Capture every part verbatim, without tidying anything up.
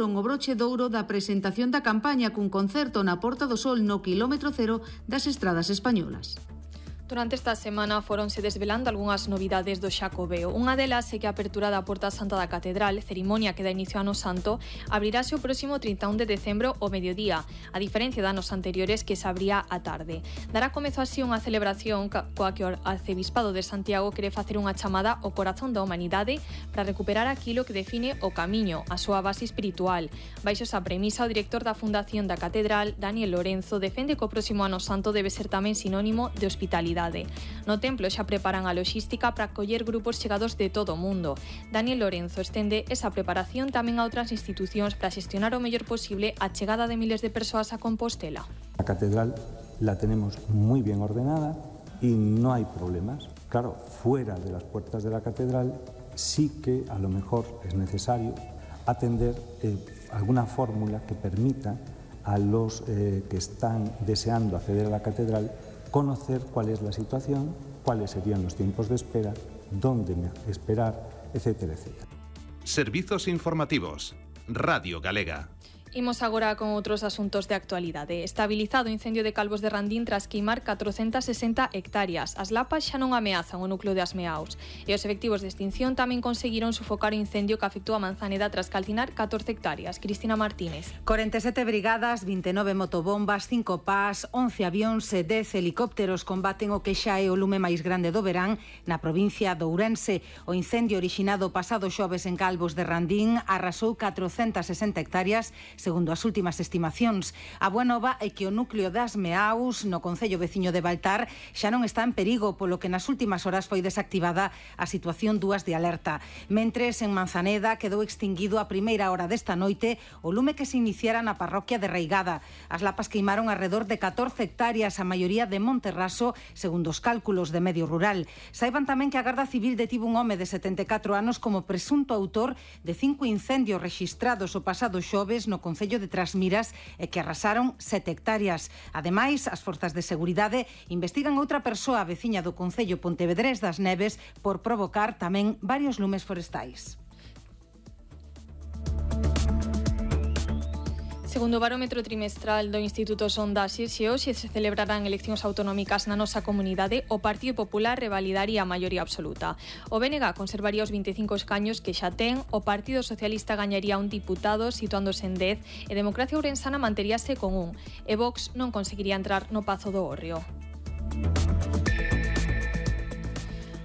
o broche de ouro da presentación da campaña cun concerto na Porta do Sol no quilómetro cero das estradas españolas. Durante esta semana foronse desvelando algunhas novidades do Xacobeo. Unha delas é que a apertura da Porta Santa da Catedral, cerimonia que dá inicio ao Ano Santo, abrirase o próximo trinta e un de decembro ao mediodía, a diferencia de anos anteriores que se abría á tarde. Dará comezo así unha celebración coa que o Arcebispado de Santiago quere facer unha chamada ao corazón da humanidade para recuperar aquilo que define o camiño, a súa base espiritual. Baixo esa premisa, o director da Fundación da Catedral, Daniel Lorenzo, defende que o próximo Ano Santo debe ser tamén sinónimo de hospitalidade. No templo xa preparan a loxística para acoller grupos chegados de todo o mundo. Daniel Lorenzo estende esa preparación tamén a outras institucións para xestionar o mellor posible a chegada de miles de persoas a Compostela. La catedral la tenemos muy bien ordenada y no hay problemas. Claro, fuera de las puertas de la catedral sí que a lo mejor es necesario atender eh, alguna fórmula que permita a los eh, que están deseando acceder a la catedral conocer cuál es la situación, cuáles serían los tiempos de espera, dónde esperar, etcétera, etcétera. Servizos informativos. Radio Galega. Imos agora con outros asuntos de actualidade. Estabilizado o incendio de Calvos de Randín tras queimar catrocentas sesenta hectáreas. As lapas xa non ameazan o núcleo de Asmeaos. E os efectivos de extinción tamén conseguiron sufocar o incendio que afectou a Manzaneda tras calcinar catorce hectáreas. Cristina Martínez. corenta e sete brigadas, vinte e nove motobombas, cinco pás, once avións e dez helicópteros combaten o que xa é o lume máis grande do verán na provincia de Ourense. O incendio orixinado pasado xoves en Calvos de Randín arrasou catrocentas sesenta hectáreas, segundo as últimas estimacións. A boa nova é que o núcleo das Meaus, no concello veciño de Baltar, xa non está en perigo, polo que nas últimas horas foi desactivada a situación dúas de alerta. Mentres, en Manzaneda quedou extinguido a primeira hora desta noite o lume que se iniciara na parroquia de Reigada. As lapas queimaron alrededor de catorce hectáreas, a maioría de Monterraso, segundo os cálculos de Medio Rural. Saiban tamén que a Garda Civil detivo un home de setenta e catro anos como presunto autor de cinco incendios rexistrados o pasado xoves no Concello de Trasmiras e que arrasaron sete hectáreas. Ademais, as forzas de seguridade investigan outra persoa veciña do Concello Pontevedrés das Neves por provocar tamén varios lumes forestais. Segundo o barómetro trimestral do Instituto Sondaxes, se hoxe se celebrarán eleccións autonómicas na nosa comunidade, o Partido Popular revalidaría a maioría absoluta. O B N G conservaría os vinte e cinco escaños que xa ten, o Partido Socialista gañaría un diputado situándose en dez e Democracia Ourensana manteríase con un, e Vox non conseguiría entrar no Pazo do Hórreo.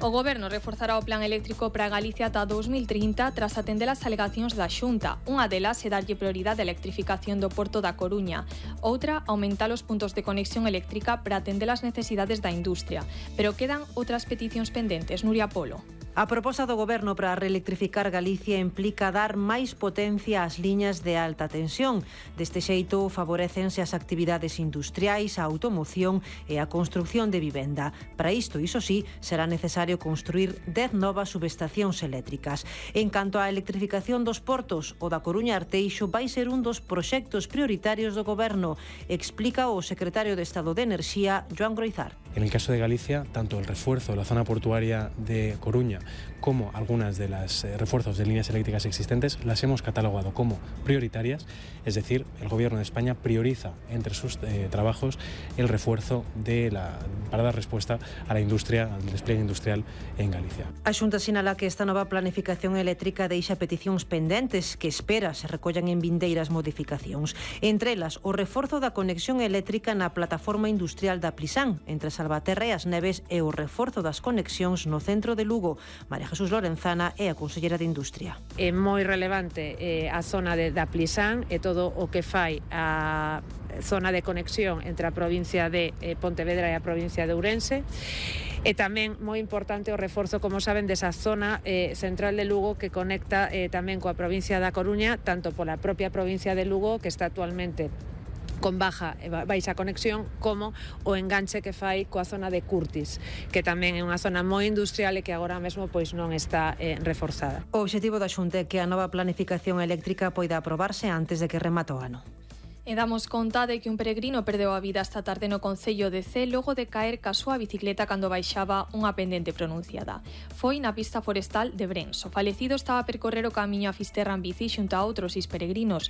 O Goberno reforzará o plan eléctrico para Galicia ata dous mil trinta tras atender as alegacións da Xunta. Unha delas é darlle prioridade á electrificación do Porto da Coruña. Outra, aumentar os puntos de conexión eléctrica para atender as necesidades da industria. Pero quedan outras peticións pendentes. Nuria Polo. A proposta do Goberno para reelectrificar Galicia implica dar máis potencia ás liñas de alta tensión. Deste xeito, favorecense as actividades industriais, a automoción e a construción de vivenda. Para isto, iso sí, será necesario construir dez novas subestacións eléctricas. En canto á electrificación dos portos, o da Coruña Arteixo vai ser un dos proxectos prioritarios do Goberno, explica o secretario de Estado de Enerxía, Joan Groizar. En el caso de Galicia, tanto el refuerzo de la zona portuaria de Coruña como algunas de las eh, refuerzos de líneas eléctricas existentes las hemos catalogado como prioritarias, es decir, el Gobierno de España prioriza entre sus eh, trabajos el refuerzo de la, para dar respuesta a la industria, al despliegue industrial en Galicia. A Xunta sinala que esta nova planificación eléctrica deixa peticións pendentes que espera se recollan en vindeiras modificacións. Entre elas, o reforzo da conexión eléctrica na plataforma industrial da Plisán, entre Salvaterra e As Neves, e o reforzo das conexións no centro de Lugo. María Jesús Lorenzana é a consellera de Industria. É moi relevante eh, a zona de, da Plisán e todo o que fai a zona de conexión entre a provincia de eh, Pontevedra e a provincia de Ourense. E tamén moi importante o reforzo, como saben, desa zona eh, central de Lugo que conecta eh, tamén coa provincia da Coruña, tanto pola propia provincia de Lugo, que está actualmente con baja e baixa conexión, como o enganche que fai coa zona de Curtis, que tamén é unha zona moi industrial e que agora mesmo pois non está eh, reforzada. O obxectivo da Xunta é que a nova planificación eléctrica poida aprobarse antes de que remate o ano. E damos conta de que un peregrino perdeu a vida esta tarde no concello de Cee logo de caer ca súa bicicleta cando baixaba unha pendente pronunciada. Foi na pista forestal de Brens. O falecido estaba a percorrer o camiño a Fisterra en bici xunto a outros seis peregrinos.